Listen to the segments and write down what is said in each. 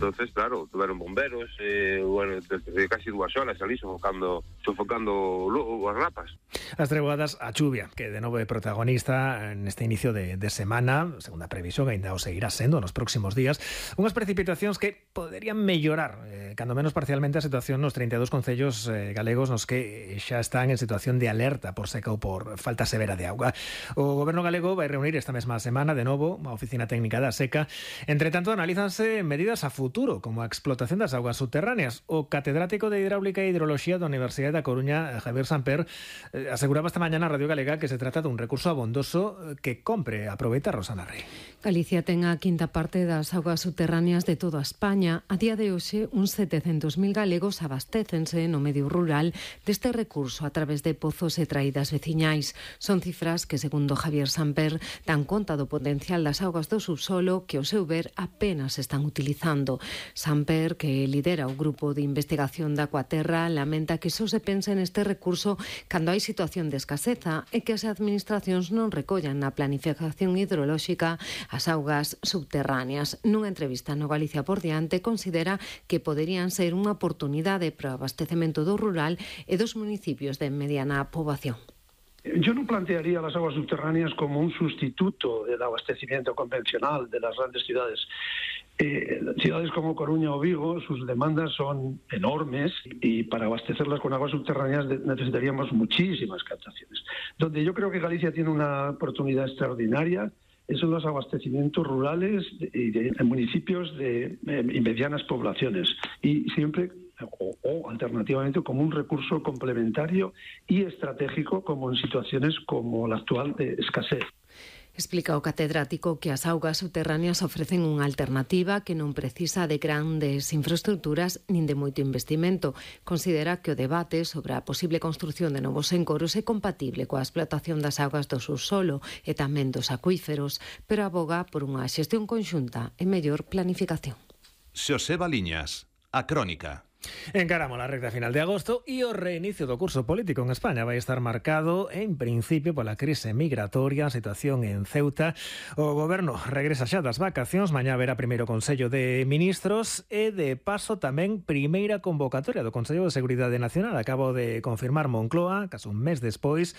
Entonces, claro, tuveron bomberos, desde casi 2 horas ali sofocando as rapas. As treguadas a chuvia, que de novo é protagonista neste inicio de semana, según a previsión, ainda o seguirá sendo nos próximos días, unhas precipitacións que poderían mellorar, cando menos parcialmente, a situación nos 32 concellos galegos nos que xa están en situación de alerta por seca ou por falta severa de auga. O Goberno galego vai reunir esta mesma semana de novo a Oficina Técnica da Seca. Entre tanto, analízanse medidas a futuro, como a explotación das augas subterráneas. O catedrático de Hidráulica e Hidroloxía da Universidade da Coruña, Javier Samper, aseguraba esta mañana a Radio Galega que se trata dun recurso abondoso que compre aproveitar, Rosana Rey. Galicia ten a quinta parte das augas subterráneas de toda España. A día de hoxe, uns 700.000 galegos abastécense no medio rural deste recurso a través de pozos e traídas veciñais. Son cifras que, segundo Javier Samper, dan conta do potencial das augas do subsolo que, ao seu ver, apenas están utilizando. Samper, que lidera o grupo de investigación da Aquaterra, lamenta que só se pense neste recurso cando hai situación de escaseza e que as administracións non recollan na planificación hidrolóxica as augas subterráneas. Nunha entrevista no Galicia por diante, considera que poderían ser unha oportunidade para o abastecemento do rural e dos municipios de mediana poboación. Yo no plantearía las aguas subterráneas como un sustituto del abastecimiento convencional de las grandes ciudades. Ciudades como Coruña o Vigo, sus demandas son enormes y para abastecerlas con aguas subterráneas necesitaríamos muchísimas captaciones. Donde yo creo que Galicia tiene una oportunidad extraordinaria son los abastecimientos rurales en municipios de medianas poblaciones y siempre o alternativamente como un recurso complementario y estratégico como en situaciones como la actual de escasez. Explica o catedrático que as augas subterráneas ofrecen unha alternativa que non precisa de grandes infraestructuras nin de moito investimento. Considera que o debate sobre a posible construción de novos encoros é compatible coa explotación das augas do subsolo e tamén dos acuíferos, pero aboga por unha xestión conxunta e mellor planificación. Xoseba Liñas, A Crónica. Encaramos a recta final de agosto e o reinicio do curso político en España vai estar marcado en principio pola crise migratoria, a situación en Ceuta. O goberno regresa xa das vacacións, mañá haberá primeiro Consello de Ministros e de paso tamén primeira convocatoria do Consello de Seguridade Nacional. Acabo de confirmar Moncloa, case un mes despois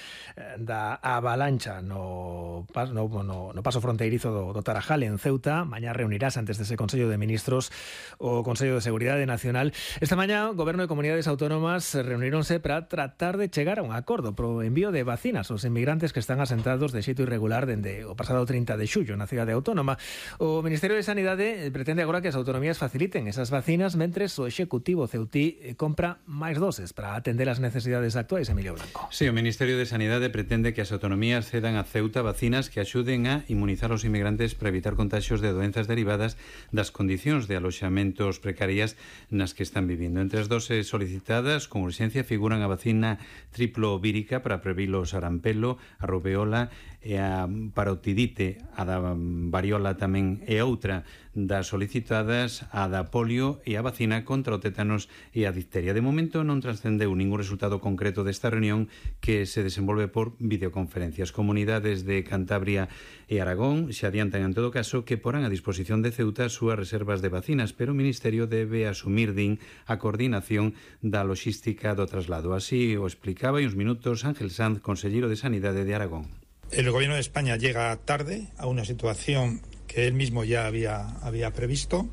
da avalancha no paso fronteirizo do Tarajal en Ceuta. Mañá reunirás antes dese Consello de Ministros o Consello de Seguridade Nacional. Esta mañá, o Goberno e Comunidades Autónomas reuníronse para tratar de chegar a un acordo pro envío de vacinas aos inmigrantes que están asentados de xeito irregular dende o pasado 30 de xullo na cidade autónoma. O Ministerio de Sanidade pretende agora que as autonomías faciliten esas vacinas mentres o Executivo ceutí compra máis doses para atender as necesidades actuais. Emilio Blanco. Sí, o Ministerio de Sanidade pretende que as autonomías cedan a Ceuta vacinas que axuden a inmunizar os inmigrantes para evitar contaxios de doenzas derivadas das condicións de aloxamentos precarias nas que están vivindo. Entre as doses solicitadas con urxencia figuran a vacina triplo vírica para previr o sarampelo, a rubeola e a parotidite, a da variola tamén, e outra das solicitadas, a da polio e a vacina contra o tétanos e a difteria. De momento non trascendeu ningún resultado concreto desta reunión que se desenvolve por videoconferencias. Comunidades de Cantabria e Aragón se adiantan en todo caso que porán a disposición de Ceuta as súas reservas de vacinas, pero o Ministerio debe asumir, din, a coordinación da logística do traslado. Así o explicaba hai uns minutos Ángel Sanz, conselleiro de Sanidade de Aragón. El Gobierno de España llega tarde a una situación que él mismo ya había previsto.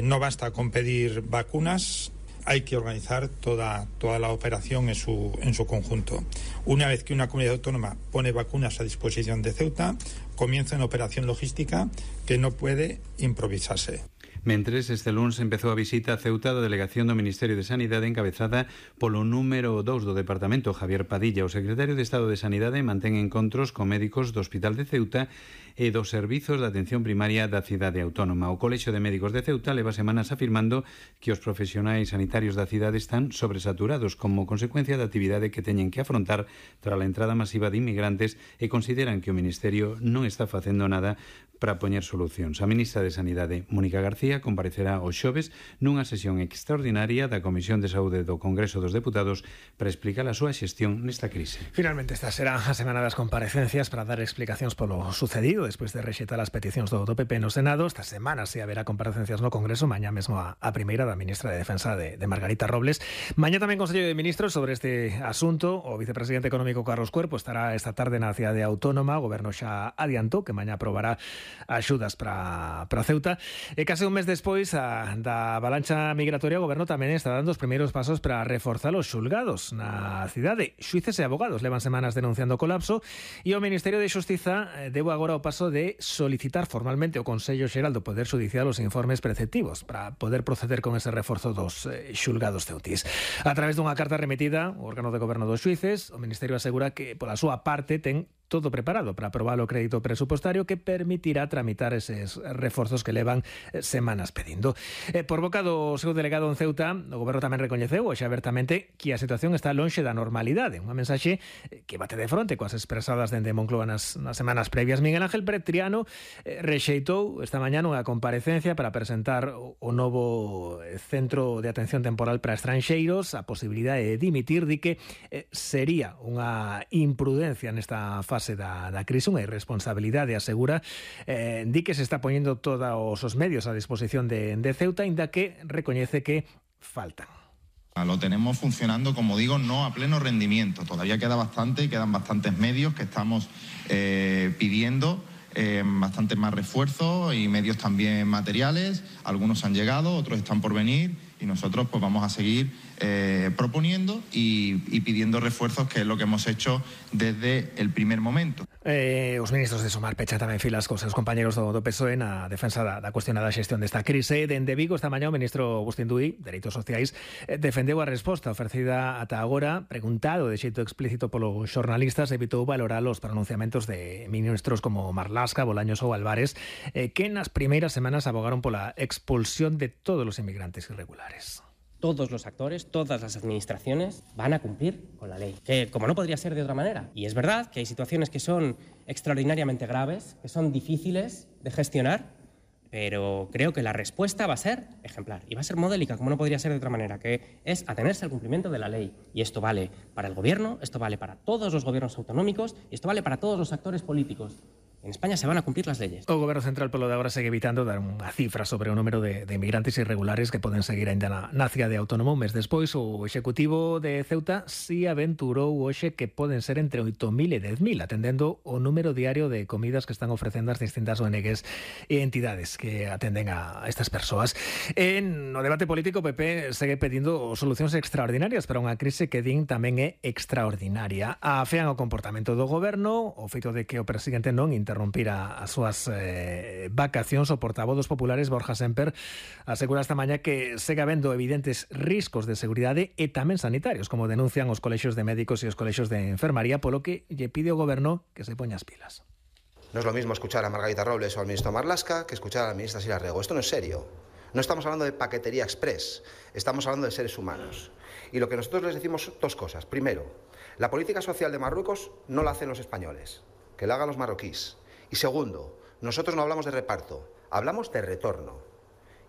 No basta con pedir vacunas, hay que organizar toda la operación en su conjunto. Una vez que una comunidad autónoma pone vacunas a disposición de Ceuta, comienza una operación logística que no puede improvisarse. Mentres, este lunes empezou a visita a Ceuta da delegación do Ministerio de Sanidade encabezada polo número 2 do Departamento, Javier Padilla. O secretario de Estado de Sanidade mantén encontros con médicos do Hospital de Ceuta e dos servizos de atención primaria da cidade autónoma. O Colexio de Médicos de Ceuta leva semanas afirmando que os profesionais sanitarios da cidade están sobresaturados como consecuencia da actividade que teñen que afrontar tras a entrada masiva de inmigrantes e consideran que o Ministerio non está facendo nada para poñer solucións. A ministra de Sanidade, Mónica García, Consellería comparecerá o xoves nunha sesión extraordinaria da Comisión de Saúde do Congreso dos Deputados para explicar a súa xestión nesta crise. Finalmente, esta será a semana das comparecencias para dar explicacións polo sucedido despois de rexeitar as peticións do PP no Senado. Esta semana se haberá comparecencias no Congreso, mañá mesmo a primeira da ministra de Defensa de Margarita Robles. Mañá tamén Consello de Ministros sobre este asunto. O vicepresidente económico Carlos Cuerpo estará esta tarde na cidade autónoma. O Goberno xa adiantou que mañá aprobará axudas para Ceuta. E case un mes despois da avalancha migratoria, o Goberno tamén está dando os primeiros pasos para reforzar os xulgados na cidade. Xuíces e abogados levan semanas denunciando o colapso e o Ministerio de Xustiza deu agora o paso de solicitar formalmente ao Consello Xeral do Poder Judicial os informes preceptivos para poder proceder con ese reforzo dos xulgados ceutís. A través dunha carta remitida ao órgano de goberno dos xuíces, o Ministerio asegura que pola súa parte ten todo preparado para aprobar o crédito presupostario que permitirá tramitar eses reforzos que levan semanas pedindo. Por boca do seu delegado en Ceuta, o Goberno tamén recoñeceu hoxe abertamente que a situación está lonxe da normalidade. Unha mensaxe que bate de fronte coas expresadas dende Moncloa nas semanas previas. Miguel Ángel Pretriano rexeitou esta mañá unha comparecencia para presentar o novo Centro de Atención Temporal para Estranxeiros, a posibilidade de dimitir, di que sería unha imprudencia nesta fase da crise, unha irresponsabilidade, asegura, di que se está poñendo todos os medios a disposición de Ceuta, inda que recoñece que faltan. Lo tenemos funcionando, como digo, no a pleno rendimiento. Todavía quedan bastantes medios que estamos pidiendo, bastante más refuerzos y medios también materiales. Algunos han llegado, otros están por venir y nosotros pues vamos a seguir proponiendo y pidiendo refuerzos, que es lo que hemos hecho desde el primer momento. Os ministros de Sumar pechan tamén filas cos seus compañeros do PSOE na defensa da cuestionada xestión desta crise. Dende Vigo esta mañá o ministro Agustín Duí, Dereitos Sociais, defendeu a resposta oferecida ata agora, preguntado de xeito explícito polos xornalistas, evitou valorar os pronunciamentos de ministros como Marlaska, Bolaños ou Álvarez, que nas primeiras semanas abogaron pola expulsión de todos os inmigrantes irregulares. Todos los actores, todas las administraciones van a cumplir con la ley, que como no podría ser de otra manera. Y es verdad que hay situaciones que son extraordinariamente graves, que son difíciles de gestionar, pero creo que la respuesta va a ser ejemplar y va a ser modélica, como no podría ser de otra manera, que es atenerse al cumplimiento de la ley. Y esto vale para el gobierno, esto vale para todos los gobiernos autonómicos y esto vale para todos los actores políticos. En España se van a cumplir las leyes. O Goberno Central polo de agora segue evitando dar unha cifra sobre o número de inmigrantes irregulares que poden seguir ainda na cidade autónoma. Un mes despois, o Executivo de Ceuta si aventurou hoxe que poden ser entre 8.000 e 10.000, atendendo o número diario de comidas que están ofrecendo as distintas ONGs e entidades que atenden a estas persoas. No debate político, o PP segue pedindo solucións extraordinarias para unha crise que din tamén é extraordinaria. Afean o comportamento do Goberno, o feito de que o presidente non interrumpir as súas vacacións. O portavoz dos populares, Borja Semper, asegura esta mañá que segue habendo evidentes riscos de seguridade e tamén sanitarios, como denuncian os colexios de médicos e os colexios de enfermaría, polo que lle pide ao Goberno que se poña as pilas. No es lo mismo escuchar a Margarita Robles o al ministro Marlaska que escuchar a la ministra Sira Rego. Esto no es serio. No estamos hablando de paquetería express, estamos hablando de seres humanos. Y lo que nosotros les decimos, dos cosas. Primero, la política social de Marruecos no la hacen los españoles, que la hagan los marroquíes. Y segundo, nosotros no hablamos de reparto, hablamos de retorno.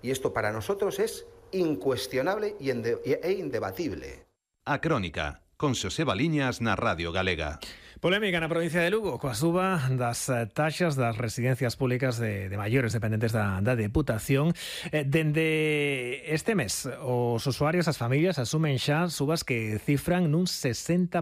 Y esto para nosotros es incuestionable e indebatible. A Crónica, con Xoseba Liñas na Radio Galega. Polémica na provincia de Lugo coa suba das taxas das residencias públicas de maiores dependentes da Deputación. Dende este mes, os usuarios, as familias, asumen xa subas que cifran nun 60%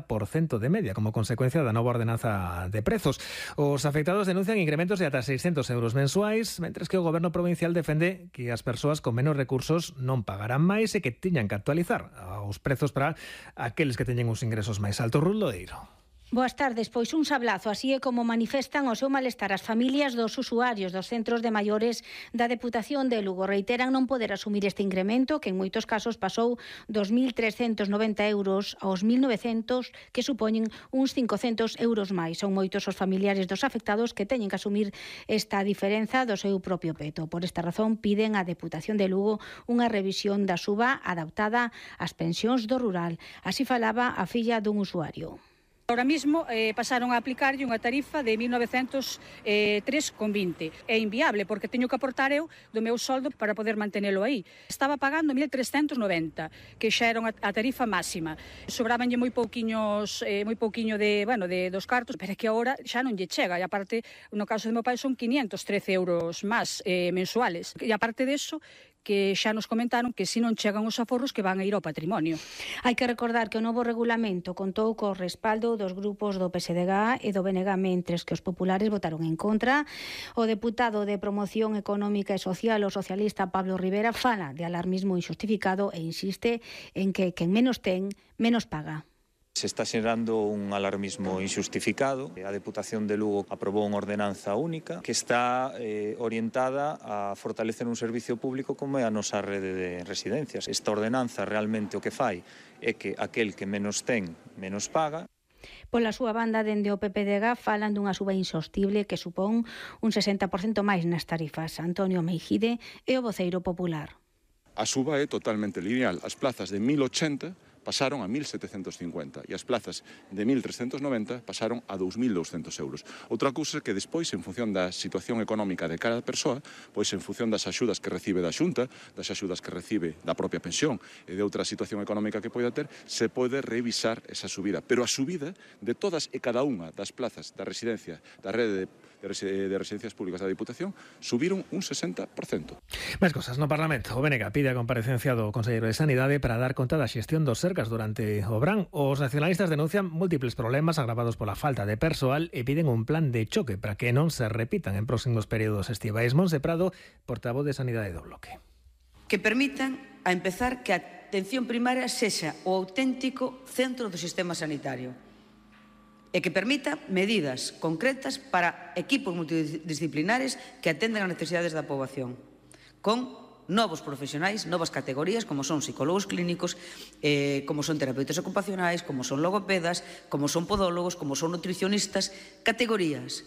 de media como consecuencia da nova ordenanza de prezos. Os afectados denuncian incrementos de ata 600 euros mensuais, mentres que o Goberno provincial defende que as persoas con menos recursos non pagarán máis e que tiñan que actualizar os prezos para aqueles que teñen os ingresos máis altos. Ruth Lodeiro. Boas tardes, pois un sablazo, así é como manifestan o seu malestar as familias dos usuarios dos centros de maiores da Deputación de Lugo. Reiteran non poder asumir este incremento, que en moitos casos pasou dos 1.390 euros aos 1.900, que supoñen uns 500 euros máis. Son moitos os familiares dos afectados que teñen que asumir esta diferenza do seu propio peto. Por esta razón, piden á Deputación de Lugo unha revisión da suba adaptada ás pensións do rural. Así falaba a filla dun usuario. Ahora mismo pasaron a aplicarlle unha tarifa de 1.903,20. É inviable porque teño que aportar eu do meu soldo para poder mantenelo aí. Estaba pagando 1.390, que xa era a tarifa máxima. Sobrabanlle moi pouquiño dos cartos, pero é que agora xa non lle chega. E aparte, no caso do meu pai son 513 euros máis mensuales. E aparte deso, que xa nos comentaron que se non chegan os aforros que van a ir ao patrimonio. Hai que recordar que o novo regulamento contou co respaldo dos grupos do PSDG e do BNG, mentres que os populares votaron en contra. O deputado de Promoción Económica e Social, o socialista Pablo Rivera, fala de alarmismo injustificado e insiste en que quen menos ten, menos paga. Se está xerando un alarmismo injustificado. A Deputación de Lugo aprobou unha ordenanza única que está orientada a fortalecer un servicio público como é a nosa rede de residencias. Esta ordenanza realmente o que fai é que aquel que menos ten, menos paga. Pola súa banda, dende o PPDG falan dunha suba insostible que supón un 60% máis nas tarifas. Antonio Meijide é o voceiro popular. A suba é totalmente lineal. As plazas de 1080 pasaron a 1.750 e as plazas de 1.390 pasaron a 2.200 euros. Outra cousa é que despois, en función da situación económica de cada persoa, pois en función das axudas que recibe da Xunta, das axudas que recibe da propia pensión e de outra situación económica que poida ter, se pode revisar esa subida. Pero a subida de todas e cada unha das plazas da residencia, da rede de residencias públicas da Diputación, subiron un 60%. Máis cosas no Parlamento. O BNG pide a comparecencia do Conselleiro de Sanidade para dar conta da xestión dos Sergas durante o verán. Os nacionalistas denuncian múltiples problemas agravados pola falta de persoal e piden un plan de choque para que non se repitan en próximos períodos estivais. Monse Prado, portavoz de Sanidade do Bloque. Que permitan, a empezar, que a atención primaria sexa o auténtico centro do sistema sanitario e que permita medidas concretas para equipos multidisciplinares que atendan as necesidades da poboación, con novos profesionais, novas categorías, como son psicólogos clínicos, como son terapeutas ocupacionais, como son logopedas, como son podólogos, como son nutricionistas, categorías.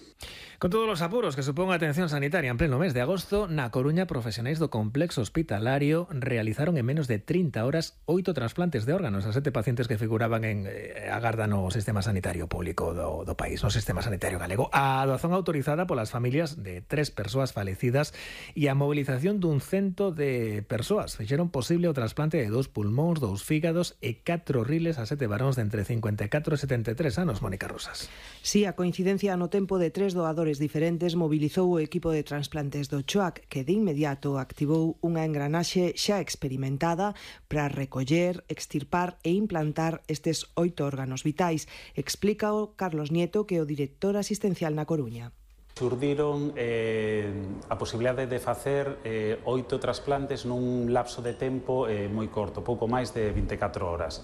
Con todos os apuros que supón a atención sanitaria en pleno mes de agosto, na Coruña, profesionais do complexo hospitalario realizaron en menos de 30 horas 8 trasplantes de órganos a 7 pacientes que figuraban en agarda no sistema sanitario público do país, no sistema sanitario galego. A doazón autorizada polas familias de 3 persoas falecidas e a mobilización dun cento de persoas fixeron posible o trasplante de 2 pulmóns, 2 fígados e 4 riles a 7 varóns de entre 54 e 73 anos. Mónica Rosas. Sí, a coincidencia no tempo de 3 doadores diferentes mobilizou o equipo de trasplantes do CHOAC, que de inmediato activou unha engranaxe xa experimentada para recoller, extirpar e implantar estes 8 órganos vitais. Explícao Carlos Nieto, que é o director asistencial na Coruña. Surdiron a posibilidade de facer 8 trasplantes nun lapso de tempo moi corto, pouco máis de 24 horas.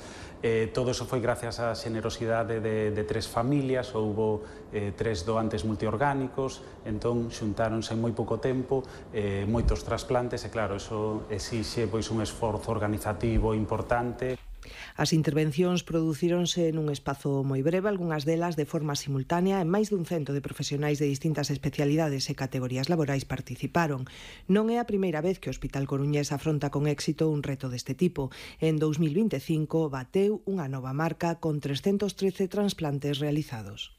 Todo iso foi gracias á xenerosidade de 3 familias, houbo 3 doantes multiorgánicos, entón xuntáronse en moi pouco tempo moitos trasplantes e claro, iso exixe pois un esforzo organizativo importante. As intervencións producíronse nun espazo moi breve, algunhas delas de forma simultánea, e máis dun cento de profesionais de distintas especialidades e categorías laborais participaron. Non é a primeira vez que o Hospital Coruñés afronta con éxito un reto deste tipo. En 2025 bateu unha nova marca con 313 trasplantes realizados.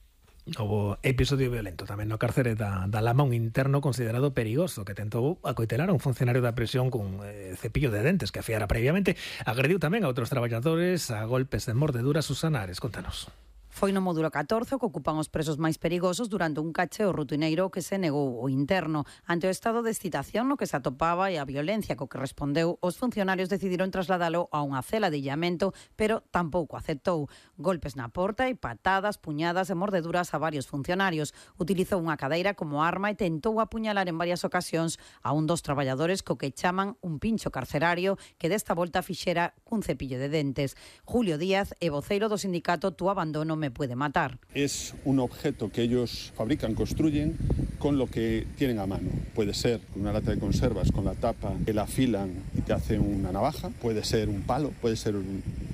Houbo episodio violento tamén no cárcere da Lama, un interno considerado perigoso que tentou acoitelar a un funcionario da prisión cun cepillo de dentes que afiara previamente. Agrediu tamén a outros traballadores a golpes de mordeduras. Susana Ares, contanos. Foi no módulo 14 que ocupan os presos máis perigosos durante un cacheo rutineiro que se negou o interno. Ante o estado de excitación no que se atopaba e a violencia co que respondeu, os funcionarios decidiron trasladalo a unha cela de illamento, pero tampouco aceptou. Golpes na porta e patadas, puñadas e mordeduras a varios funcionarios. Utilizou unha cadeira como arma e tentou apuñalar en varias ocasións a un dos traballadores co que chaman un pincho carcerario que desta volta fixera cun cepillo de dentes. Julio Díaz é voceiro do sindicato Tu Abandono Me Puede Matar. Es un objeto que ellos fabrican, construyen con lo que tienen a mano. Puede ser una lata de conservas con la tapa que la afilan y te hacen una navaja, puede ser un palo, puede ser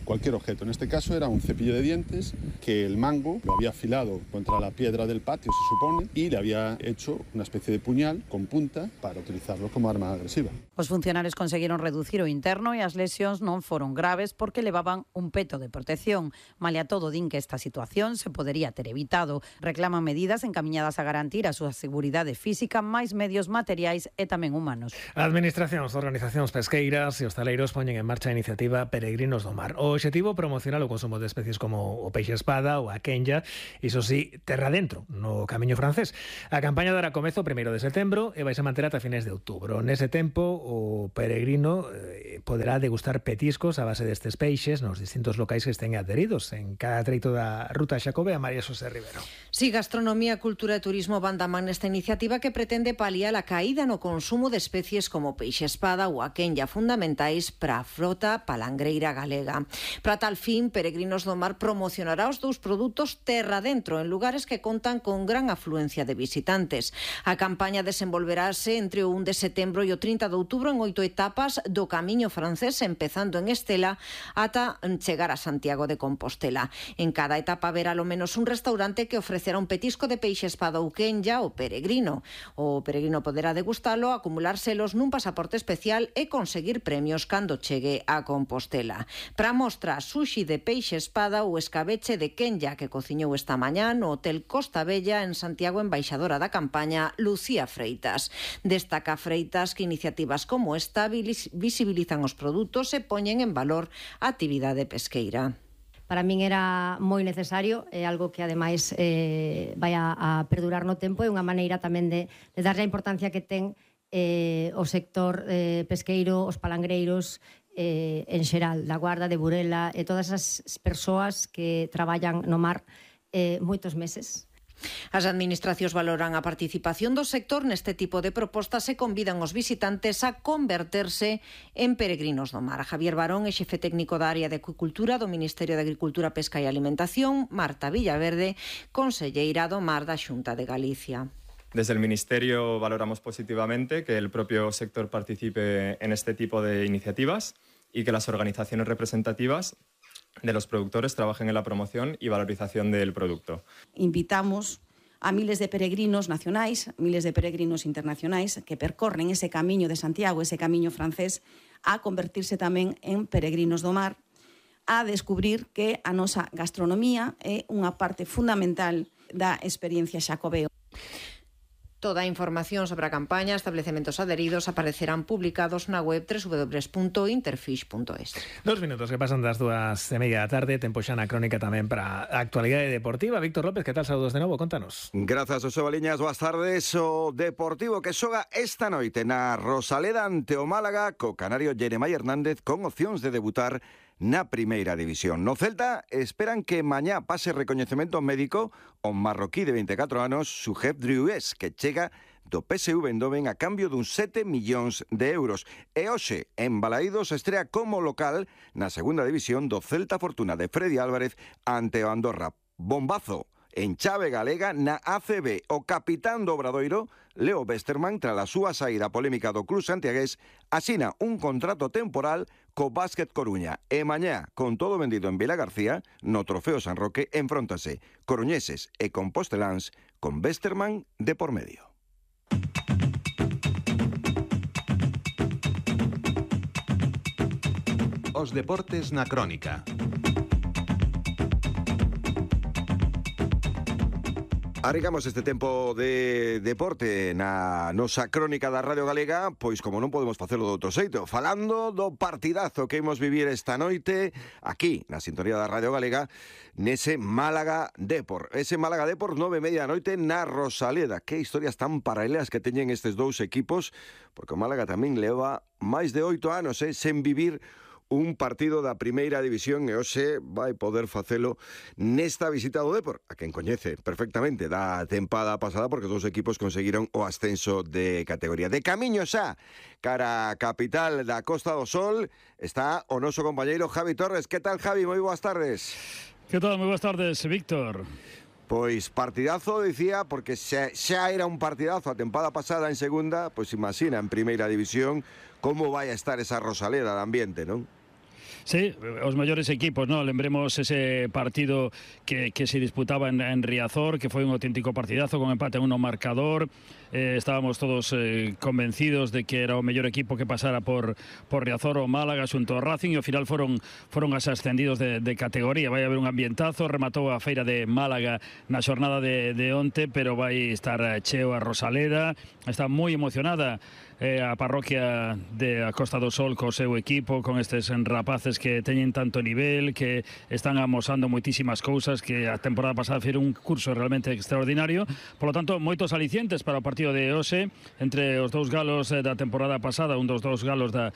cualquier objeto. En este caso era un cepillo de dientes que el mango lo había afilado contra la piedra del patio, se supone, y le había hecho una especie de puñal con punta para utilizarlo como arma agresiva. Os funcionarios conseguiron reducir o interno e as lesións non foron graves porque levaban un peto de protección. Malia todo, din que esta situación se podería ter evitado. Reclaman medidas encamiñadas a garantir a súa seguridade física, máis medios materiais e tamén humanos. Administracións, organizacións pesqueiras e hostaleiros poñen en marcha a iniciativa Peregrinos do Mar. O obxectivo promocionar o consumo de especies como o peixe espada ou a quenya, iso sí, terra dentro, no camiño francés. A campaña dará comezo o 1 de setembro e vai se manter ata fines de outubro. Nese tempo, o peregrino poderá degustar petiscos a base destes peixes nos distintos locais que estén adheridos en cada treito da ruta Xacobea. María Xosé Rivero. Si, gastronomía, cultura e turismo van da man nesta iniciativa que pretende paliar a caída no consumo de especies como peixe espada ou a quenya, fundamentais para a frota palangreira galega. Para tal fin, Peregrinos do Mar promocionará os dous produtos terra dentro en lugares que contan con gran afluencia de visitantes. A campaña desenvolverase entre o 1 de setembro e o 30 de outubro en 8 etapas do camiño francés, empezando en Estela ata chegar a Santiago de Compostela. En cada etapa haberá ao menos un restaurante que ofrecerá un petisco de peixe espada ou quenya ao peregrino. O peregrino poderá degustalo, acumular selos nun pasaporte especial e conseguir premios cando chegue a Compostela. Para mostra, sushi de peixe espada ou escabeche de quenya que cociñou esta mañá no Hotel Costa Bella en Santiago, embaixadora da campaña Lucía Freitas. Destaca Freitas que iniciativas como esta visibilizan os produtos e poñen en valor a actividade pesqueira. Para min era moi necesario, é algo que ademais vai a perdurar no tempo, é unha maneira tamén de darlle a importancia que ten o sector pesqueiro, os palangreiros, en xeral, da Guarda, de Burela, e todas as persoas que traballan no mar moitos meses. As administracións valoran a participación do sector neste tipo de propostas e convidan os visitantes a converterse en peregrinos do mar. Javier Barón é xefe técnico da área de acuicultura do Ministerio de Agricultura, Pesca e Alimentación. Marta Villaverde, conselleira do Mar da Xunta de Galicia. Desde el Ministerio valoramos positivamente que el propio sector participe en este tipo de iniciativas y que las organizaciones representativas de los productores trabajen en la promoción y valorización del producto. Invitamos a miles de peregrinos nacionais, miles de peregrinos internacionais que percorren ese camiño de Santiago, ese camiño francés, a convertirse tamén en peregrinos do mar, a descubrir que a nosa gastronomía é unha parte fundamental da experiencia xacobeo. Toda a información sobre a campaña, establecementos adheridos, aparecerán publicados na web www.interfish.es. 2 minutos que pasan das 2:30 da tarde, tempo xa na crónica tamén para a actualidade deportiva. Víctor López, que tal? Saúdos de novo, contanos. Grazas, José Baliñas, boas tardes. O Deportivo que xoga esta noite na Rosaleda ante o Málaga co canario Jeremai Hernández con opcións de debutar na primeira división. No Celta esperan que mañá pase recoñecemento médico o marroquí de 24 anos, Sujeb Drioues, que chega do PSV Eindhoven a cambio dun 7 millóns de euros. E hoxe, en Balaídos, estrea como local na segunda división do Celta Fortuna de Freddy Álvarez ante o Andorra. Bombazo en chave galega na ACB. O capitán do Obradoiro, Leo Westermann, tras a súa saída polémica do club santiagués, asina un contrato temporal co Básquet Coruña. E mañá, con todo vendido en Vila García, no Trofeo San Roque, enfróntase coruñeses e composteláns con Westermann de por medio. Os deportes na crónica. Arrancamos este tempo de deporte na nosa crónica da Radio Galega, pois como non podemos facelo de outro xeito, falando do partidazo que imos vivir esta noite aquí na sintonía da Radio Galega nese Málaga Depor. Ese Málaga Depor 9:30 da noite na Rosaleda. Que historias tan paralelas que teñen estes dous equipos, porque o Málaga tamén leva máis de 8 anos sen vivir un partido da primeira división e hoxe vai poder facelo nesta visita do Depor, a quen coñece perfectamente da tempada pasada porque os dous equipos conseguiron o ascenso de categoría. De camiño xa cara a capital da Costa do Sol está o noso compañeiro Javi Torres. Que tal, Javi? Moi boas tardes. Que tal? Moi boas tardes, Víctor. Pois partidazo, dicía, porque xa era un partidazo a tempada pasada en segunda, pois imagina en primeira división como vai a estar esa Rosaleda de ambiente, non? Sí, os mellores equipos, ¿no? Lembremos ese partido que se disputaba en Riazor, que foi un auténtico partidazo con empate en 1 marcador. Estábamos todos convencidos de que era o mellor equipo que pasara por Riazor ou Málaga xunto ao Racing, e ao final foron as ascendidos de categoría. Vai haber un ambientazo, rematou a feira de Málaga na xornada de onte, pero vai estar cheo a Rosaleda. Está moi emocionada a parroquia de a Costa do Sol co seu equipo, con estes rapaces que teñen tanto nivel, que están amosando moitísimas cousas, que a temporada pasada fizeron un curso realmente extraordinario. Por lo tanto, moitos alicientes para o partido de hoxe entre os dous galos da temporada pasada, un dos dous galos da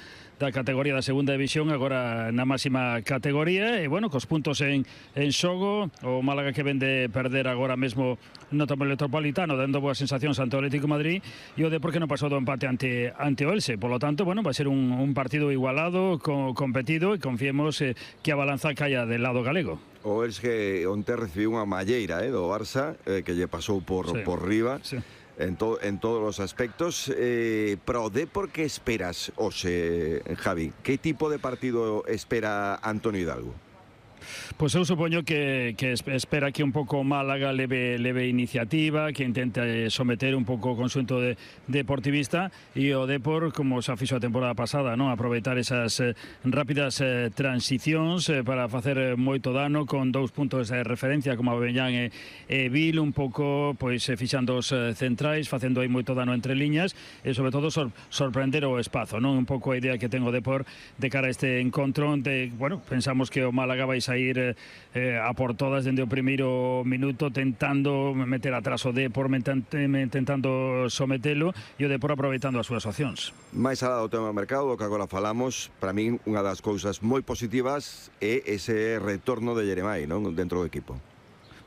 categoría da segunda división, agora na máxima categoría, e bueno, cos puntos en xogo, o Málaga que vende perder agora mesmo no Metropolitano, dando boas sensacións ante o Atlético de Madrid, e o Depor que non pasou do empate ante o Elche. Por lo tanto, bueno, va a ser un partido igualado, competido, e confiemos que a balanza caia del lado galego. O Elche onte recibiu unha malleira do Barça, que lle pasou por riba. Sí. En todos os aspectos, pero o Depor, que esperas hoxe, Javi? Que tipo de partido espera Antonio Hidalgo? Pois eu supoño que espera que un pouco Málaga leve iniciativa, que intente someter un pouco o conxunto deportivista, e o Depor, como xa fixo a temporada pasada, non, aproveitar esas rápidas transicións para facer moito dano con 2 puntos de referencia como Abellán e Vil, un pouco pois fixando os centrais, facendo aí moito dano entre liñas, e sobre todo sorprender o espazo, non? Un pouco a idea que ten o Depor de cara a este encontro, onde, bueno, pensamos que o Málaga vai sair a por todas dende o primeiro minuto, tentando meter atrás o Depor, tentando sometelo, e o Depor aproveitando as súas opcións. Mais alá do tema do mercado, do que agora falamos, para min unha das cousas moi positivas é ese retorno de Jeremai, non, dentro do equipo.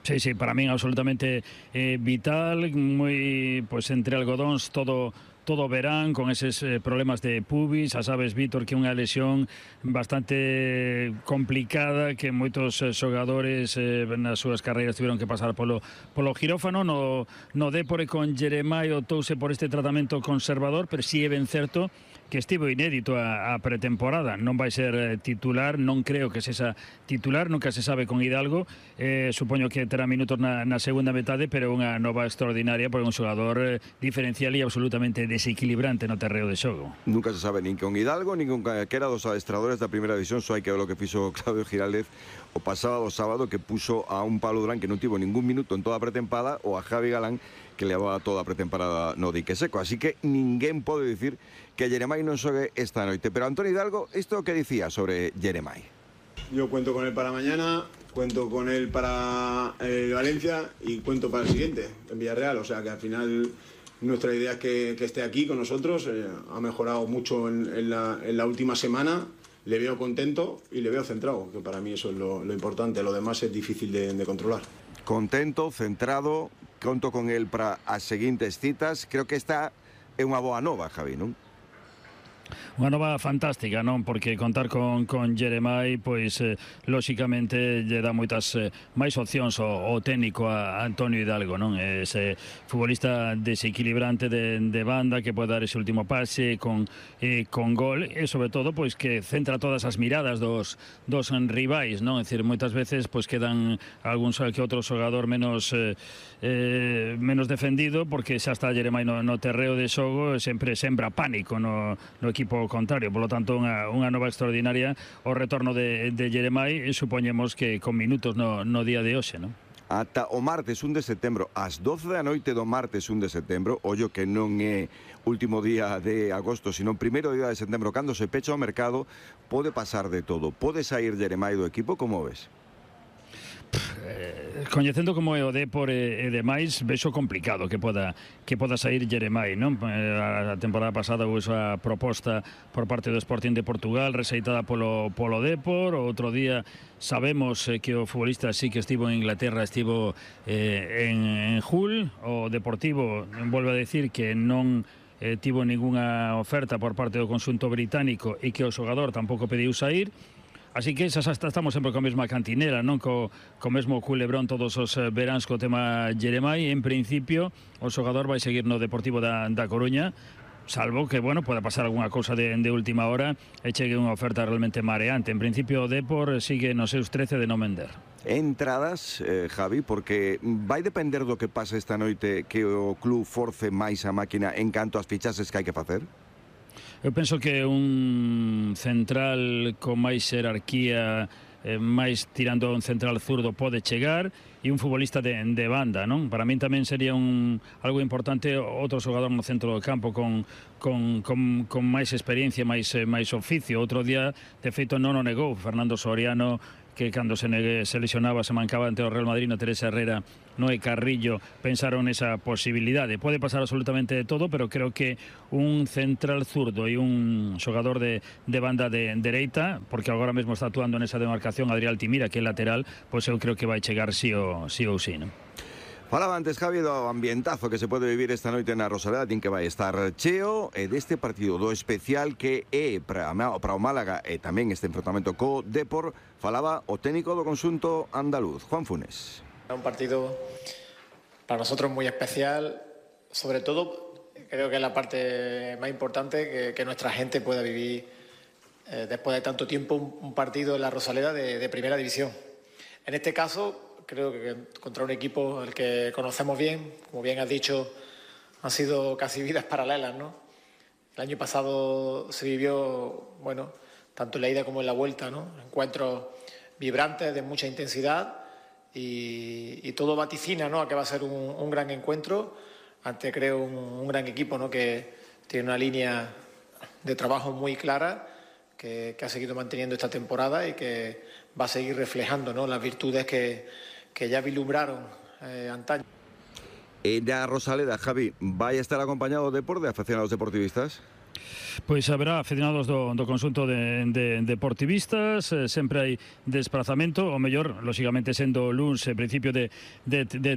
Sí, para min absolutamente vital, moi, pues, entre algodóns todo verán, con eses problemas de pubis. Xa sabes, Víctor, que é unha lesión bastante complicada, que moitos xogadores nas súas carreiras tiveron que pasar polo quirófano. No Depor con Jeremai optouse por este tratamento conservador, pero si é ben certo que estivo inédito a pretemporada. Non vai ser titular, non creo que sexa titular, nunca se sabe con Hidalgo. Supoño que terá minutos na segunda metade, pero unha nova extraordinaria, porque é un xogador diferencial e absolutamente desequilibrante no terreo de xogo. Nunca se sabe nin con Hidalgo, nin con calquera dos adestradores da primeira división. Só hai que ver o que fixo Claudio Giraldez o pasado sábado, que puso a un Pablo Durán que non tivo ningún minuto en toda a pretempada, ou a Javi Galán, que levaba toda a pretemporada no dique seco. Así que ninguén pode dicir que Jeremai non xogue esta noite. Pero Antonio Hidalgo, isto que dicía sobre Jeremai? Yo cuento con él para mañana, cuento con él para Valencia y cuento para el siguiente, en Villarreal. O sea que al final nuestra idea es que esté aquí con nosotros. Ha mejorado mucho en la última semana. Le veo contento y le veo centrado, que para mí eso es lo importante. Lo demás es difícil de controlar. Contento, centrado, conto con él para as seguintes citas. Creo que esta é unha boa nova, Javi, non? Unha nova fantástica, non? Porque contar con Jeremai, pois, lóxicamente, lle dá moitas máis opcións ao técnico a Antonio Hidalgo, non? Ese futbolista desequilibrante de banda que pode dar ese último pase con gol, e sobre todo, pois, que centra todas as miradas dos rivais, non? É dicir, moitas veces, pois, quedan algún que outro xogador menos defendido, porque xa está Jeremai no terreo de xogo, sempre sembra pánico no equipo contrario. Por lo tanto, unha nova extraordinaria o retorno de Jeremai, e supoñemos que con minutos no día de hoxe, non? Ata o martes 1 de setembro, ás 12 da noite do martes 1 de setembro, ollo que non é último día de agosto, sino primeiro día de setembro, cando se pecha o mercado, pode pasar de todo. Pode sair Jeremai do equipo, como ves? Coñecendo como é o Depor e demais, vexo complicado que poda sair Jeremai, non? A temporada pasada houve esa proposta por parte do Sporting de Portugal, rexeitada polo Depor. O outro día sabemos que o futbolista sí que estivo en Inglaterra, estivo en Hull. O Deportivo volve a decir que non tivo ningunha oferta por parte do conxunto británico e que o xogador tampouco pediu sair. Así que estamos sempre con a mesma cantinera, non? Co mesmo culebrón todos os veráns co tema Jeremai. En principio, o xogador vai seguir no Deportivo da Coruña, salvo que, bueno, pueda pasar alguna cousa de última hora e chegue unha oferta realmente mareante. En principio o Depor sigue nos seus 13 de non vender. Entradas, Javi, porque vai depender do que pase esta noite que o club force máis a máquina en canto ás fichases que hai que facer? Eu penso que un central con máis xerarquía, máis tirando a un central zurdo pode chegar, e un futbolista de banda, non? Para min tamén sería algo importante outro xogador no centro do campo con máis experiencia, máis oficio. Outro día, de feito, non o negou Fernando Soriano, que cando se lesionaba, se mancaba ante o Real Madrid, na Teresa Herrera, Noé Carrillo, pensaron esa posibilidade. Pode pasar absolutamente de todo, pero creo que un central zurdo e un xogador de banda de dereita, porque agora mesmo está actuando nesa demarcación Adrián Altimira, que é lateral, pois eu creo que vai chegar sí ou sí. Falaba antes, Javi, do ambientazo que se pode vivir esta noite na Rosaleda, din que vai estar cheo, e deste partido do especial que é para o Málaga e tamén este enfrontamento co Depor, falaba o técnico do conxunto andaluz, Juan Funes. Un partido para nosotros muy especial, sobre todo creo que es la parte más importante que nuestra gente pueda vivir después de tanto tiempo un partido en la Rosaleda de primera división. En este caso, creo que contra un equipo al que conocemos bien, como bien has dicho, han sido casi vidas paralelas, ¿no? El año pasado se vivió, bueno, tanto en la ida como en la vuelta, ¿no? Encuentros vibrantes, de mucha intensidad y todo vaticina, ¿no?, a que va a ser un gran encuentro ante, creo, un gran equipo, ¿no?, que tiene una línea de trabajo muy clara, que ha seguido manteniendo esta temporada y que va a seguir reflejando, ¿no?, las virtudes que ya vislumbraron antaño. En la Rosaleda, Javi, vai estar acompañado de aficionados deportivistas? Pois haberá aficionados do conxunto de deportivistas, sempre hai desplazamento, o mellor, lóxicamente, sendo luns, principio de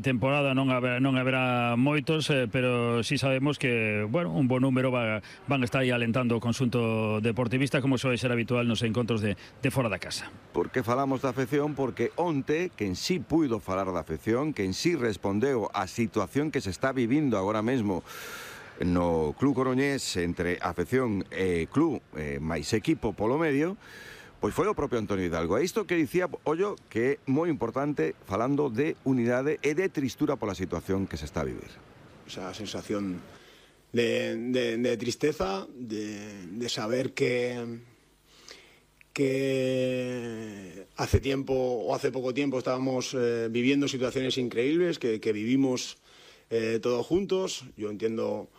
temporada, non haberá moitos, pero sí sabemos que, bueno, un bon número van a estar aí alentando o conxunto deportivista, como soe ser habitual nos encontros de fora da casa. Por que falamos da afección? Porque onte, quen sí puido falar da afección, quen sí respondeu á situación que se está vivindo agora mesmo no Club Coruñés entre afección e club máis equipo polo medio, pois foi o propio Antonio Hidalgo. E isto que dicía, ollo, que é moi importante falando de unidade e de tristura pola situación que se está a vivir. Esa sensación de tristeza, de saber que hace tiempo o hace poco tiempo estábamos viviendo situaciones increíbles, que vivimos todos juntos. Yo entiendo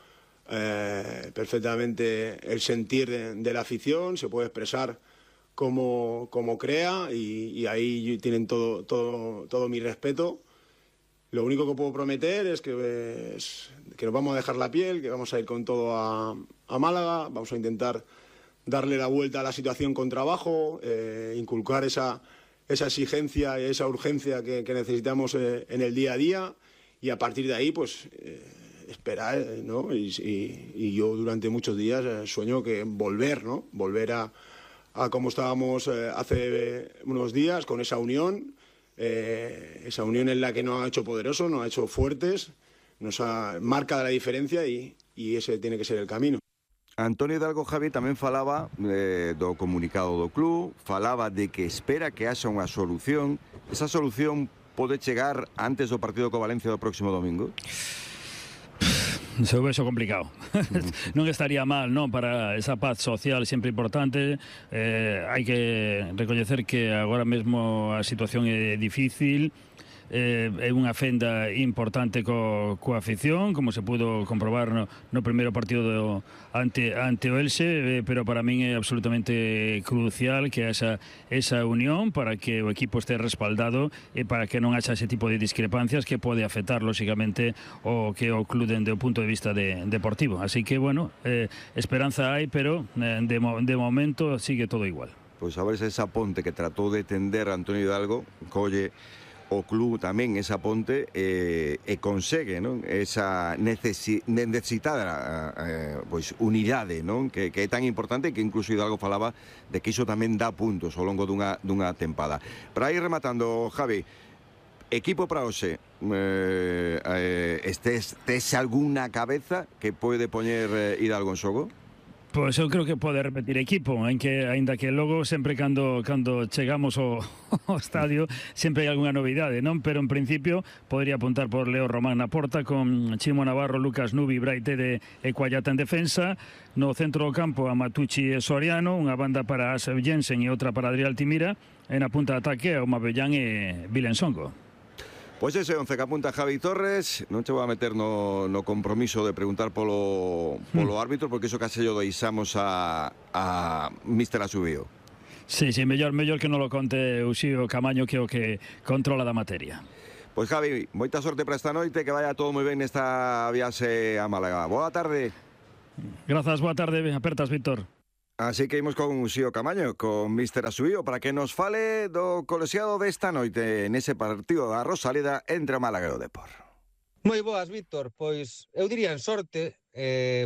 perfectamente el sentir de la afición, se puede expresar como crea y ahí tienen todo mi respeto. Lo único que puedo prometer es que nos vamos a dejar la piel, que vamos a ir con todo a Málaga, vamos a intentar darle la vuelta a la situación con trabajo, inculcar esa exigencia y esa urgencia que necesitamos en el día a día, y a partir de ahí pues esperar, ¿no? Y yo durante muchos días sueño que volver a como estábamos hace unos días, con esa unión en la que nos ha hecho poderosos, nos ha hecho fuertes, nos marca la diferencia y ese tiene que ser el camino. Antonio Hidalgo, Javi, tamén falaba do comunicado do club, falaba de que espera que haxa unha solución. Esa solución pode chegar antes do partido co Valencia do próximo domingo? Se o vexo complicado. Non estaría mal, non, para esa paz social sempre importante. Hai que recoñecer que agora mesmo a situación é difícil. É unha fenda importante coa afición, como se pudo comprobar no primeiro partido ante o Elxe, pero para min é absolutamente crucial que haxa esa unión para que o equipo este respaldado e para que non haxa ese tipo de discrepancias que pode afectar lóxicamente o que o club dende o punto de vista deportivo. Así que, bueno, esperanza hai, pero de momento sigue todo igual. Pois a ver se esa ponte que tratou de tender Antonio Hidalgo colle o club tamén esa ponte e consegue, non, esa necesitada pois unidade, non, que é tan importante, que incluso Hidalgo falaba de que iso tamén dá puntos ao longo dunha tempada. Para ir rematando, Javi, equipo para hoxe, ¿estés alguna cabeza que puede poner Hidalgo en xogo? Pois eu creo que pode repetir equipo, aínda que logo sempre cando chegamos ao estadio sempre hai algunha novidade, non? Pero en principio podría apuntar por Leo Román na porta, con Chimo Navarro, Lucas Nubi, Braite de Ecuallata en defensa. No centro do campo a Matucci e Soriano, unha banda para Asef Jensen e outra para Adrián Altimira, e na punta de ataque a Omabellán e Vilensongo. Pois ese 11 que apunta Javi Torres. Non che vou a meter no compromiso de preguntar polo árbitro, porque iso case yo deixamos a Míster Asubío. Sí, mellor que non lo conte Uxío Camaño, que é o que controla da materia. Pois Javi, moita sorte para esta noite, que vaya todo moi ben nesta viaxe a Málaga. Boa tarde. Grazas, boa tarde, apertas, Víctor. Así que imos con Uxío Camaño, con Míster Asubío, para que nos fale do colexiado desta noite nese partido da Rosaleda entre o Málaga e o Depor. Moi boas, Víctor. Pois eu diría en sorte,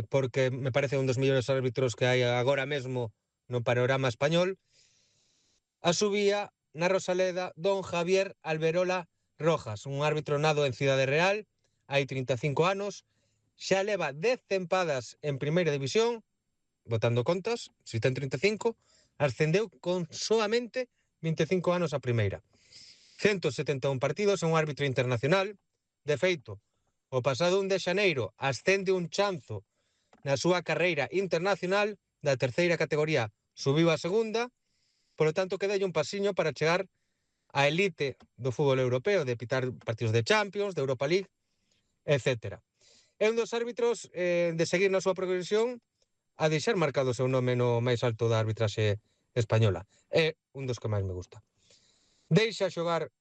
porque me parece un dos mellores árbitros que hai agora mesmo no panorama español. Asubía na Rosaleda don Javier Alberola Rojas, un árbitro nado en Cidade Real, hai 35 anos, xa leva 10 tempadas en primeira división, botando contas, si ten 35, ascendeu con soamente 25 anos a primeira. 171 partidos, é un árbitro internacional. De feito, o pasado 1 de xaneiro ascende un chanzo na súa carreira internacional, da terceira categoría subiu a segunda, polo tanto quedalle un pasiño para chegar á elite do fútbol europeo, de pitar partidos de Champions, de Europa League, etc. É un dos árbitros de seguir na súa progresión, a deixar marcado o seu nome no máis alto da arbitraxe española. É un dos que máis me gusta. Deixa xogar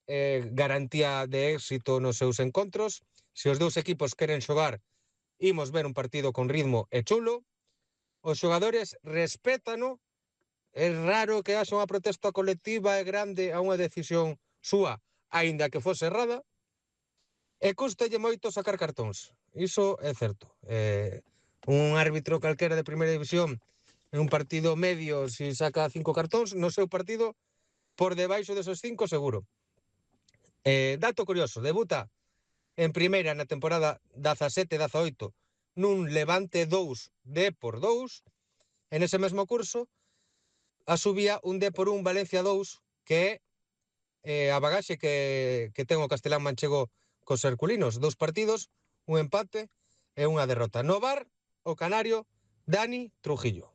garantía de éxito nos seus encontros. Se os dous equipos queren xogar, imos ver un partido con ritmo e chulo. Os xogadores respétano. É raro que haxa unha protesta colectiva e grande a unha decisión súa, aínda que fose errada. E custalle moito sacar cartóns. Iso é certo. Un árbitro calquera de primeira división en un partido medio, si saca 5 cartóns, no seu partido por debaixo desos 5 seguro. Dato curioso, debuta en primeira na temporada 17-18 nun Levante 2 Depor 2, en ese mesmo curso Asubía un Depor 1 Valencia 2, que é a bagaxe que ten o castelán manchego cos herculinos. 2 partidos, un empate e unha derrota. No VAR, o canario Dani Trujillo.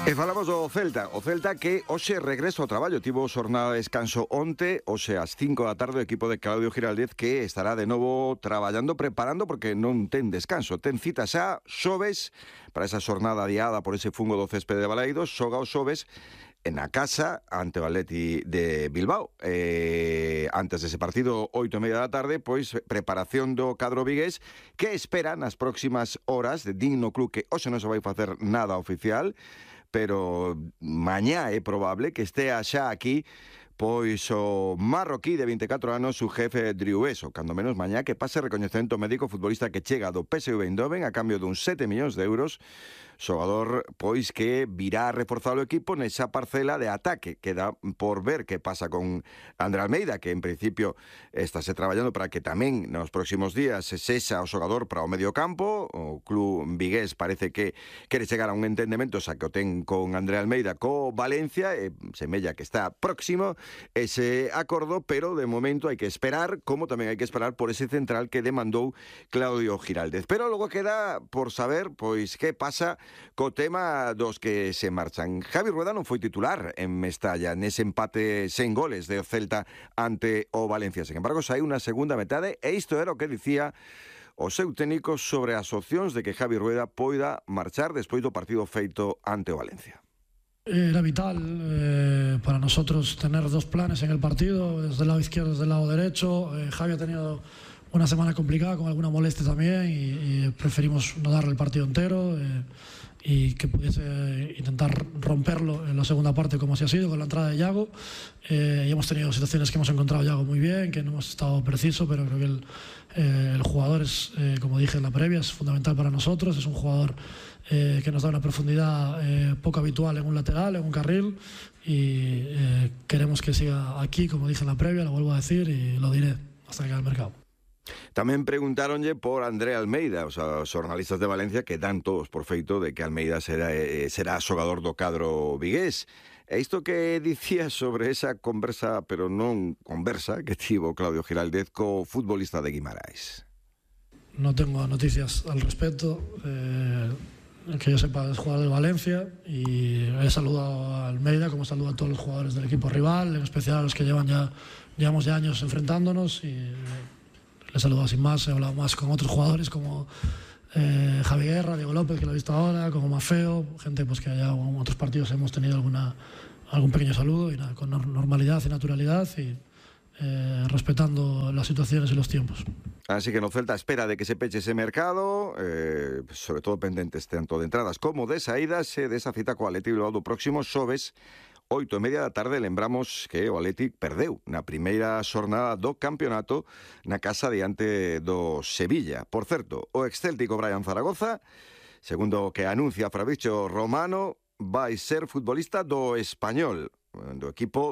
E falamos do Celta, que hoxe regresa ao traballo, tivo xornada de descanso onte, hoxe ás 5 da tarde o equipo de Claudio Giraldez, que estará de novo traballando, preparando, porque non ten descanso, ten cita xa xoves para esa xornada adiada por ese fungo do céspede de Balaidos, xoga os xoves na casa ante o Atleti de Bilbao. Antes dese partido, 8:30 da tarde, pois preparación do cadro vigués, que espera nas próximas horas, de digno club que hoxe non se vai facer nada oficial, pero mañá é probable que estea xa aquí pois o marroquí de 24 anos, o jefe Driueso, cando menos mañá que pase recoñecemento médico futbolista que chega do PSV Eindhoven a cambio dun 7 millóns de euros, xogador pois que virá a reforzar o equipo nesa parcela de ataque. Queda por ver que pasa con André Almeida, que en principio estáse traballando para que tamén nos próximos días se sexa o xogador para o medio campo. O club vigués parece que quere chegar a un entendemento, xa que o ten con André Almeida co Valencia, e semella que está próximo ese acordo, pero de momento hai que esperar, como tamén hai que esperar por ese central que demandou Claudio Giraldez. Pero logo queda por saber pois que pasa co tema dos que se marchan. Javi Rueda non foi titular en Mestalla nese empate sen goles de Celta ante o Valencia. Sen embargo, sai unha segunda metade, e isto era o que dicía o seu técnico sobre as opcións de que Javi Rueda poida marchar despois do partido feito ante o Valencia. Era vital para nosotros tener dos planes en el partido, desde el lado izquierdo y desde el lado derecho. Javi ha tenido una semana complicada con alguna molestia también y preferimos no darle el partido entero y que pudiese intentar romperlo en la segunda parte, como así ha sido con la entrada de Yago. Y hemos tenido situaciones que hemos encontrado a Yago muy bien, que no hemos estado preciso, pero creo que el jugador es, como dije en la previa, es fundamental para nosotros. Es un jugador que nos da una profundidad poco habitual en un lateral, en un carril, y queremos que siga aquí, como dije en la previa, lo vuelvo a decir y lo diré hasta que llegue al mercado. Tamén preguntáronlle por André Almeida, os xornalistas de Valencia que dan todos por feito de que Almeida será xogador do cadro vigués. E isto que dicía sobre esa conversa, pero non conversa, que tivo Claudio Giraldez co futbolista de Guimarães. No tengo noticias al respecto. Que yo sepa, es jugador de Valencia y he saludado a Almeida como saludo a todos los jugadores del equipo rival, en especial a los que llevamos ya años enfrentándonos, y le he saludado sin más. He hablado más con otros jugadores como Javi Guerra, Diego López, que lo he visto ahora, como Mafeo, gente pues que allá en otros partidos hemos tenido algún pequeño saludo, y nada, con normalidad y naturalidad, y respetando las situaciones y los tiempos. Así que no Celta espera de que se peche ese mercado, sobre todo pendentes tanto de entradas como de saídas, desa cita co Athletic Bilbao do próximo xoves 8:30 da tarde. Lembramos que o Athletic perdeu na primeira xornada do campeonato na casa diante do Sevilla. Por certo, o excéltico Brian Zaragoza, segundo o que anuncia Fabrizio Romano, vai ser futbolista do Español, do equipo